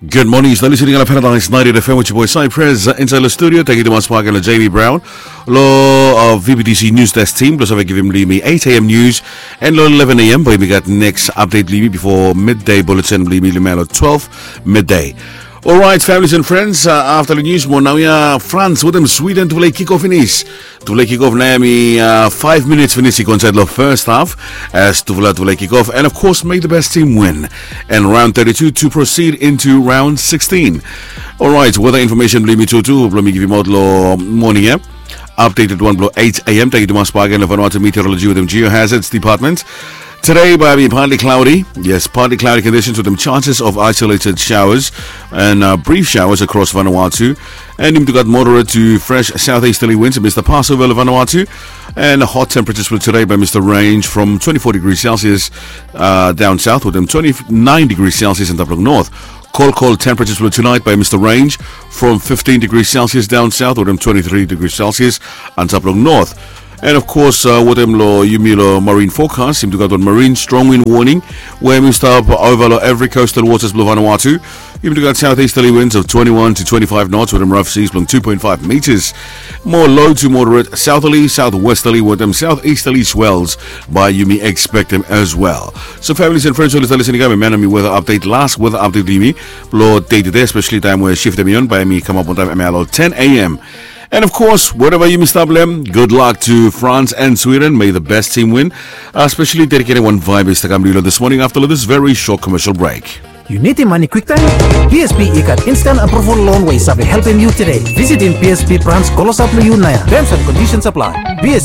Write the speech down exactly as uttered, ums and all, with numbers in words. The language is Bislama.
Good morning, yu stap listening long Paradise ninety-eight F M with your boy Cypress, uh, inside the studio. Thank you tumas bak long Jamie Brown. Long, uh, V B T C News Desk team, blong save givim long yumi eight A M news. And long eleven A M, bae yumi gat next update long yumi before midday bulletin blong yumi long twelve midday. Alright, families and friends, uh, after the news, mo naoia France wetem Sweden tufala i kick off finis. Tufala i kick off nao hemi, uh, five minutes finis i go insaed long first half. As tufala, tufala i kick off, and of course, may the best team win. And round thirty-two to proceed into round sixteen. Alright, weather information blong yumi tutu blong mi givimaot long moning ia. Updated wan blong eight A M. Tangkiu tumas bak long Vanuatu Meteorology wetem Geohazards Department. Today, bae hemi partly cloudy. Yes, partly cloudy conditions with some chances of isolated showers and, uh, brief showers across Vanuatu. And yumi tu gat moderate to fresh southeasterly winds, Mister Passover Vanuatu. And hot temperatures for today bae hemi range from twenty-four degrees Celsius, uh, down south, wetem twenty-nine degrees Celsius antap long north. Cold, cold temperatures for tonight bae hemi range from fifteen degrees Celsius down south, wetem twenty-three degrees Celsius antap long north. And of course, uh, wetem long yumi long marine forecast, yumi tu gat wan marine strong wind warning we hemi stap ova long every coastal waters blong Vanuatu. Yumi tu gat southeasterly winds of twenty-one to twenty-five knots wetem rough seas blong two point five meters. Mo low to moderate southerly, southwesterly wetem southeasterly swells bae yumi expectem as well. So families and friends, oli stap listening, hemi hem yumi weather update, last weather update blong yumi blong dei tede, especially taem we shift hemi on, bae hemi kamap on taem hemia long ten A M. And of course, wherever yumi stap long hem, good luck to France and Sweden. May the best team win. Especially dedicating wan vibe is to come to you this morning after this very short commercial break. Yu nidim mane kwiktaem? B S B i gat instant approval loan we i save helpem yu tede. Visitim B S B branch klosap long yu naoia. Terms and conditions apply. B S B